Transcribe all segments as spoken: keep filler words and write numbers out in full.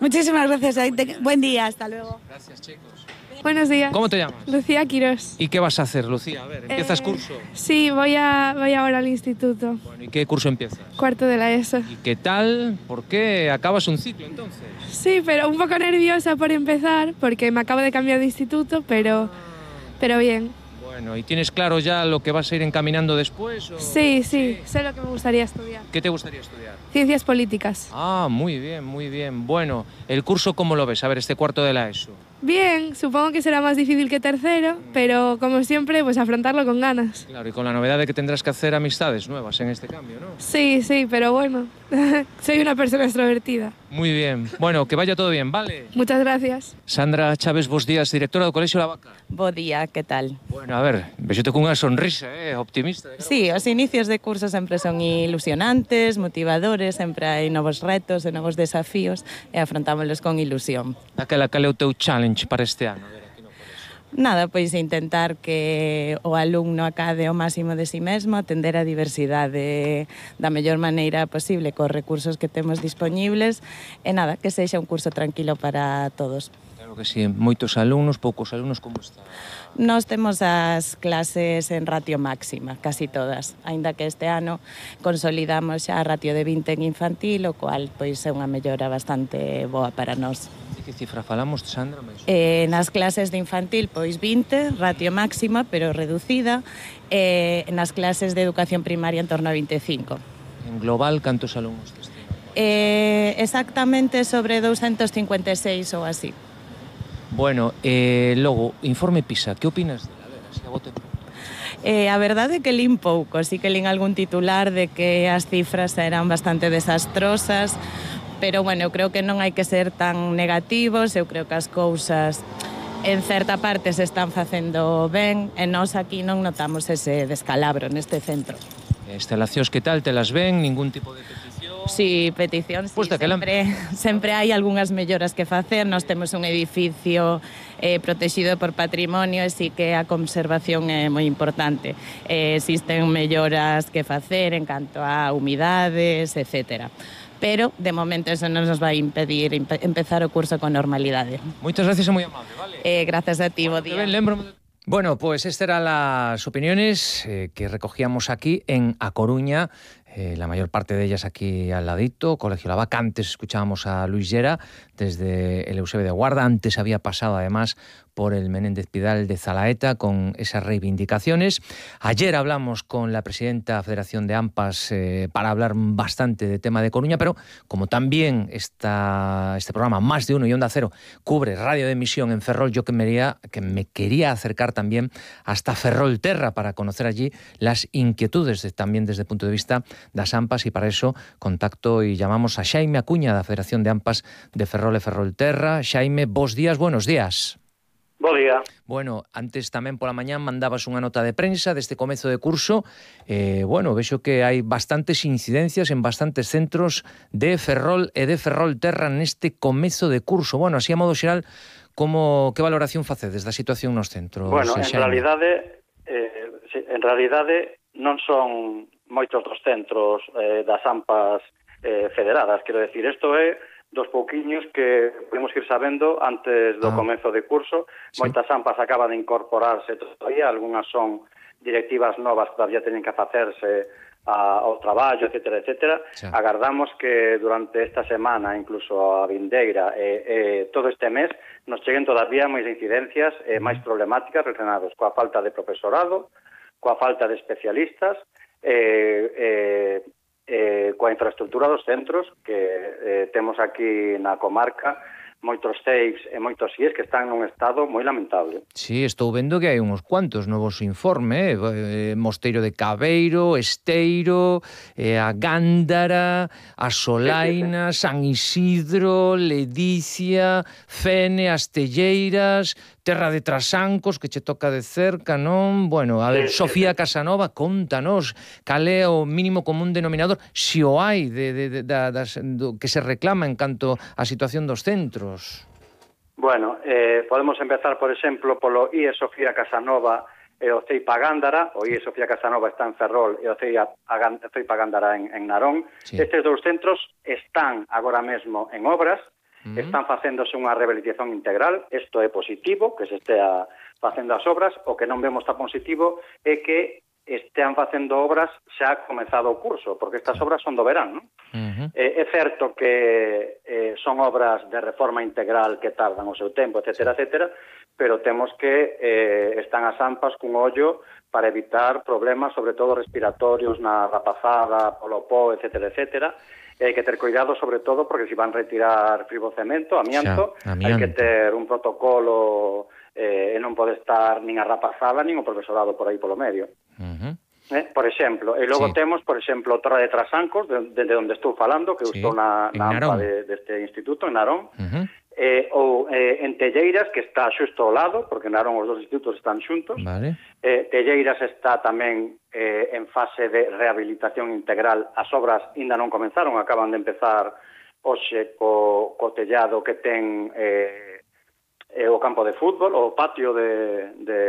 Muchísimas gracias. Buen día, hasta luego. Gracias, chicos. Buenos días. ¿Cómo te llamas? Lucía Quirós. ¿Y qué vas a hacer, Lucía? A ver, ¿empiezas Eh, curso? Sí, voy, a, voy ahora al instituto. Bueno, ¿y qué curso empiezas? Cuarto de la ESO. ¿Y qué tal? ¿Por qué acabas un ciclo entonces? Sí, pero un poco nerviosa por empezar, porque me acabo de cambiar de instituto, pero, pero bien. Bueno, ¿y tienes claro ya lo que vas a ir encaminando después? O... Sí, sí, sé lo que me gustaría estudiar. ¿Qué te gustaría estudiar? Ciencias políticas. Ah, muy bien, muy bien. Bueno, ¿el curso cómo lo ves? A ver, este cuarto de la ESO. Bien, supongo que será más difícil que tercero, pero como siempre, pues afrontarlo con ganas. Claro, y con la novedad de que tendrás que hacer amistades nuevas en este cambio, ¿no? Sí, sí, pero bueno, soy una persona extrovertida. Muy bien. Bueno, que vaya todo bien, ¿vale? Muchas gracias. Sandra Chávez, bos días, directora do Colexio La Vaca. Bo día, que tal? Bueno, a ver, vexote cunha sonrisa, eh, optimista. Sí, os inicios de curso sempre son ilusionantes, motivadores, sempre hai novos retos e novos desafíos e afrontámoslos con ilusión. Aquela cal é o teu challenge para este ano? A ver, aquí no colexio. Nada, pois intentar que o alumno acade o máximo de si mesmo, atender a diversidade da mellor maneira posible cos recursos que temos dispoñibles e nada, que sexa un curso tranquilo para todos. Claro que sí, moitos alumnos, poucos alumnos, como está? Nós temos as clases en ratio máxima, casi todas, aínda que este ano consolidamos xa a ratio de vinte en infantil, o cual pois é unha mellora bastante boa para nós. De que cifra falamos, Sandra? Eh, nas clases de infantil, pois vinte, ratio máxima, pero reducida, e nas clases de educación primaria en torno a vinte e cinco. En global, cantos alumnos deste ano? Eh, exactamente sobre doscientos cincuenta e seis ou así. Bueno, eh, logo, informe PISA, que opinas dela? A ver, así a bote pronto. Eh, a verdade é que lín pouco, sí que lín algún titular de que as cifras eran bastante desastrosas, pero, bueno, eu creo que non hai que ser tan negativos, eu creo que as cousas en certa parte se están facendo ben e nós aquí non notamos ese descalabro neste centro. Instalacións que tal, te las ven, ningún tipo de petición? Sí, peticións, sí, Pues sempre, sempre hai algunhas melloras que facer. Nós temos un edificio eh, protegido por patrimonio e sí que a conservación é moi importante. Eh, existen melloras que facer en canto a humidades, etcétera. Pero, de momento, eso non nos vai impedir empe empezar o curso con normalidade. Moitas gracias e moi amable, vale? Eh, gracias a ti, bo día. Ben, lembro... Bueno, pues estas eran las opiniones eh, que recogíamos aquí en A Coruña, eh, la mayor parte de ellas aquí al ladito, Colegio La Vaca. Antes escuchábamos a Luis Llera desde el Eusebio de Guarda, antes había pasado además por el Menéndez Pidal de Zalaeta con esas reivindicaciones. Ayer hablamos con la presidenta de la Federación de AMPAs eh, para hablar bastante de tema de Coruña, pero como también esta, este programa Más de Uno y Onda Cero cubre radio de emisión en Ferrol, yo que me, quería, que me quería acercar también hasta Ferrolterra para conocer allí las inquietudes de, también desde el punto de vista das AMPAs, y para eso contacto y llamamos a Xaime Acuña da Federación de AMPAs de Ferrol e Ferrolterra. Xaime, bos días, buenos días. Bo día. Bueno, antes tamén pola mañán mandabas unha nota de prensa deste comezo de curso. Eh, bueno, vexo que hai bastantes incidencias en bastantes centros de Ferrol e de Ferrolterra neste comezo de curso. Bueno, así a modo xeral, como que valoración facedes da situación nos centros? Bueno, en Xaime? realidade, eh, en realidade non son moitos dos centros eh, das AMPAs eh, federadas, quero decir, isto é dos pouquiños que podemos ir sabendo antes do ah. comezo de curso. Sí. Moitas AMPAs acaban de incorporarse todavía, algunhas son directivas novas que todavía teñen que facerse a, ao traballo, etcétera, etcétera. Sí. Agardamos que durante esta semana, incluso a vindeira, e, e todo este mes, nos cheguen todavía máis incidencias e máis problemáticas relacionadas coa falta de profesorado, coa falta de especialistas, e... Eh, eh, coa infraestructura dos centros que eh, temos aquí na comarca, moitos CEIPs e moitos I E S que están nun estado moi lamentable. Sí, estou vendo que hai uns cuantos novos informes, eh, Mosteiro de Cabeiro, Esteiro, eh, a Gándara, a Solaina, sí, sí, sí. San Isidro, Ledicia, Fene, Astelleiras, Terra de Trasancos, que che toca de cerca, non? Bueno, a ver, sí, Sofía sí, sí. Casanova, contanos, cal é o mínimo común denominador, se o hai, de, de, de, de, das, do, que se reclama en canto á situación dos centros. Bueno, eh, podemos empezar, por exemplo, polo I E Sofía Casanova e o CEIP a Gándara. O I E Sofía Casanova está en Ferrol e o CEIP a Gándara en, en Narón. Sí. Estes dous centros están agora mesmo en obras. Uh-huh. Están facéndose unha rehabilitación integral, isto é positivo, que se estea facendo as obras. O que non vemos tan positivo é que estean facendo obras xa comezado o curso, porque estas obras son do verán, non? Uh-huh. Eh, é certo que eh, son obras de reforma integral que tardan o seu tempo, etcétera, etcétera, pero temos que eh, están as AMPAs cun ollo para evitar problemas, sobre todo respiratorios na rapazada, polo pó, etcétera, etcétera. E hai que ter cuidado, sobre todo, porque se van retirar fribocemento, amianto, xa, amianto. Hai que ter un protocolo eh, e non pode estar nin a rapazada nin o profesorado por aí polo medio. Uh-huh. Eh, por exemplo, e logo sí. temos, por exemplo, o Torre de Trasancos, desde de, de onde estou falando, que sí. eu estou na, na AMPA de, deste instituto, en Narón, uh-huh. eh, ou eh, en Telleiras, que está xusto ao lado, porque en Narón os dos institutos están xuntos. Vale. Eh, Telleiras está tamén eh, en fase de rehabilitación integral. As obras ainda non comenzaron, acaban de empezar hoxe co, co tellado que ten eh, eh, o campo de fútbol, o patio de, de,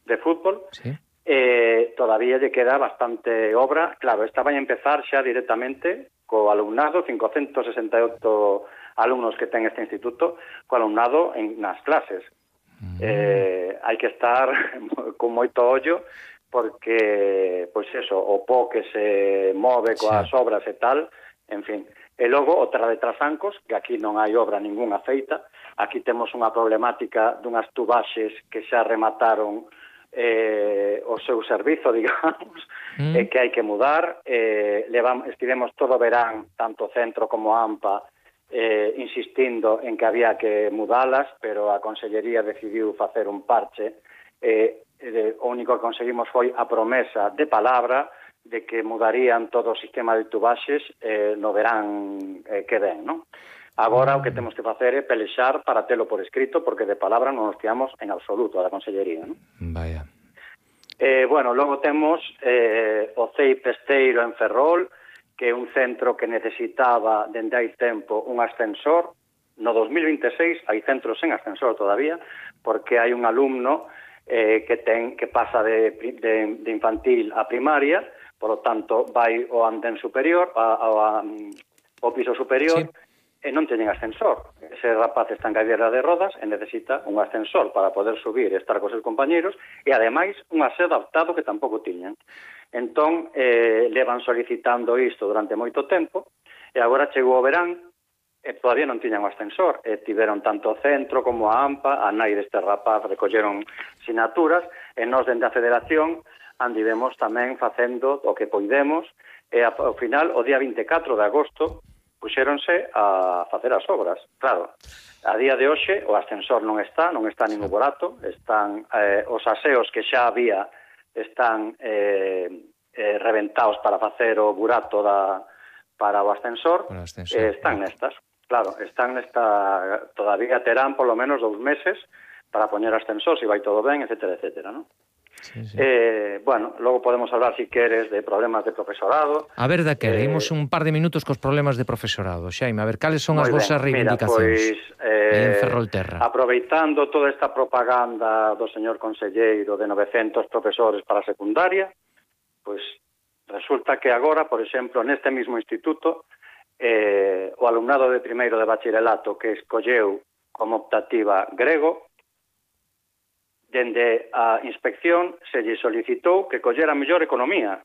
de fútbol. Sí. Eh, todavía lle queda bastante obra. Claro, esta vai empezar xa directamente co alumnado, cincocentos sesenta e oito alumnos que ten este instituto, co alumnado en, nas clases. Mm. Eh, hai que estar con moito ollo, porque, pois eso, o pó que se move coas sí. obras e tal, en fin. E logo, o Terra de Trasancos, que aquí non hai obra ningunha feita, aquí temos unha problemática dunhas tubaxes que xa remataron eh, o seu servizo, digamos, mm. eh, que hai que mudar. Eh, levam, estivemos todo verán, tanto centro como AMPA, eh, insistindo en que había que mudalas, pero a Consellería decidiu facer un parche. Eh, eh, o único que conseguimos foi a promesa de palabra de que mudarían todo o sistema de tubaxes eh, no verán eh, que ven, non? Agora o que temos que facer é pelexar para telo por escrito, porque de palabra non nos fiamos en absoluto a da Consellería, non? Vaya. Eh, bueno, logo temos eh, o C E I Pesteiro en Ferrol, que é un centro que necesitaba dende hai tempo un ascensor. No dos mil vinte e seis hai centros sen ascensor todavía, porque hai un alumno eh, que ten que pasa de, de, de infantil a primaria, por lo tanto vai ao andén superior, a, a, a, ao piso superior, sí. e non teñen ascensor. Ese rapaz está en cadeira de rodas e necesita un ascensor para poder subir e estar cos seus compañeros, e ademais un aseo adaptado que tampouco tiñan. Entón, eh, levan solicitando isto durante moito tempo, e agora chegou o verán, e todavía non tiñan o ascensor, e tiveron tanto o centro como a AMPA, a nai deste rapaz recolleron sinaturas, e nós dende a Federación andivemos tamén facendo o que poidemos, e ao final, o día vinte e catro de agosto, puxéronse a facer as obras. Claro, a día de hoxe o ascensor non está, non está ningún borato, están eh, os aseos que xa había están eh, eh, reventados para facer o burato da, para o ascensor, o ascensor eh, están nestas. Claro, están nesta, todavía terán polo menos dous meses para poñer ascensor, se vai todo ben, etcétera, etcétera, non? Sí, sí. Eh, bueno, logo podemos hablar, si queres, de problemas de profesorado. A ver, daquela, eh, imos un par de minutos cos problemas de profesorado. Xaime, a ver, cales son as vosas reivindicacións? Mira, pois, eh, en Ferrolterra. Aproveitando toda esta propaganda do señor conselleiro de novecentos profesores para a secundaria, pois resulta que agora, por exemplo, neste mismo instituto, eh, o alumnado de primeiro de bachillerato que escolleu como optativa grego, dende a inspección se lle solicitou que collera mellor economía,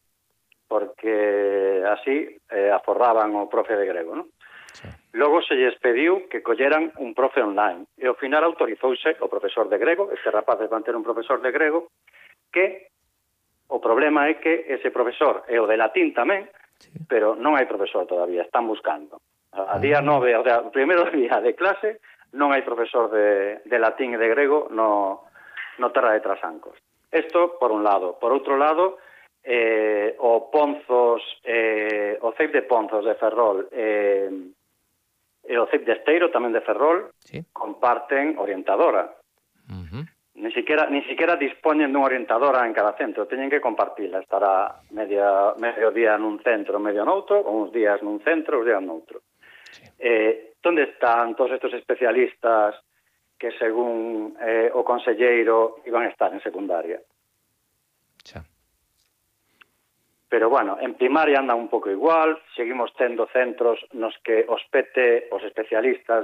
porque así eh, aforraban o profe de grego, non? Sí. Logo se lles pediu que colleran un profe online, e ao final autorizouse o profesor de grego, este rapaz van ter un profesor de grego, que o problema é que ese profesor é o de latín tamén, sí. pero non hai profesor todavía, están buscando. A, a día nove, o, sea, o primeiro día de clase, non hai profesor de, de latín e de grego no... no Terra de Trasancos. Isto, por un lado. Por outro lado, eh, o Ponzos, eh, o C E I de Ponzos de Ferrol eh, e o C E I de Esteiro, tamén de Ferrol, sí. comparten orientadora. Uh-huh. Ni siquiera, ni siquiera dispoñen dunha orientadora en cada centro, teñen que compartila. Estará media, medio día nun centro, medio noutro, ou uns días nun centro, uns días noutro. Sí. Eh, onde están todos estes especialistas que según eh, o conselleiro iban a estar en secundaria? Xa. Pero, bueno, en primaria anda un pouco igual, seguimos tendo centros nos que os P T, os especialistas